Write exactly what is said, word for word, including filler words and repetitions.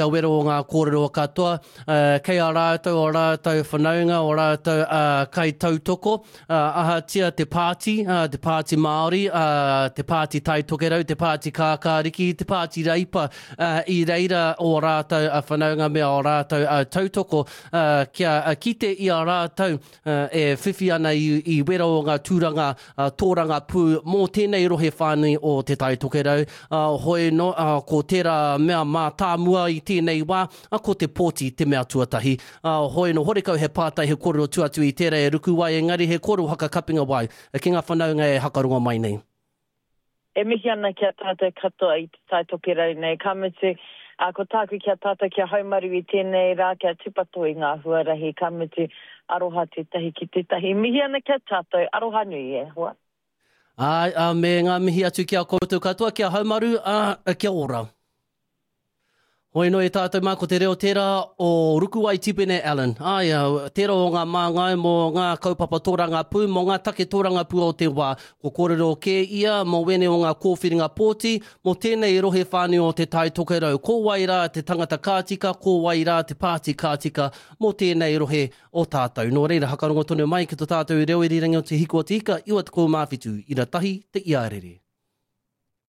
Kia wero o ngā kōrero katoa, kei a rātou o rātou whanaunga, o rātou kaitautoko, ahatia te pāti, te Pāti Māori, te Pāti Tai Tokerau, te Pāti Kākāriki, te Pāti Reipa, i reira o rātou whanaunga me o rātou tautoko, kia kite i a rātou e whiwhi ana i wero o ngā tūranga tōrangapū mō tēnei rohe whānui o Te Tai Tokerau. Hoi no, ko tērā mea mātāmua i tēnei wā, ko te pōti te mea tuatahi. Hoi no, horekau he pātai, he kōrero tua atu i tērā e ruku ai, engari he kōrero hakakapinga wai ki ngā whanaunga e hakarongo mai nei. E mihi ana ki a tātou katoa i Te Tai Tokerau nei, ka mutu, ā, ko tāku ki a tātou kia haumaru i tēnei rā, kia tūpato i ngā huarahi, ka mutu, aroha tētahi ki tētahi. Mihi ana ki a tātou, aroha nui e hoa. Āe, ā, me ngā mihi atu ki a koutou katoa, kia haumaru, ā, kia ora. Hoi anō e tātou mā, ko te reo tērā o Rukuwai Tipene Allen. Āe, tērā o ngā māngai mō ngā kaupapa tōrangapū, mō ngā take tōrangapū o te wā. Ko kōrero kē ia mō wēnei o ngā kōwhiringa pōti, mō tēnei rohe whānui o Te Tai Tokerau. Ko wai rā te tangata ka tika, ko wai rā te pāti ka tika mō tēnei rohe o tātou. Nō reira, hakarongo tonu mai ki to tātou reo irirangi o Te Hiku o Te Ika, iwa tekau mā whitu, ira tahi te iarere.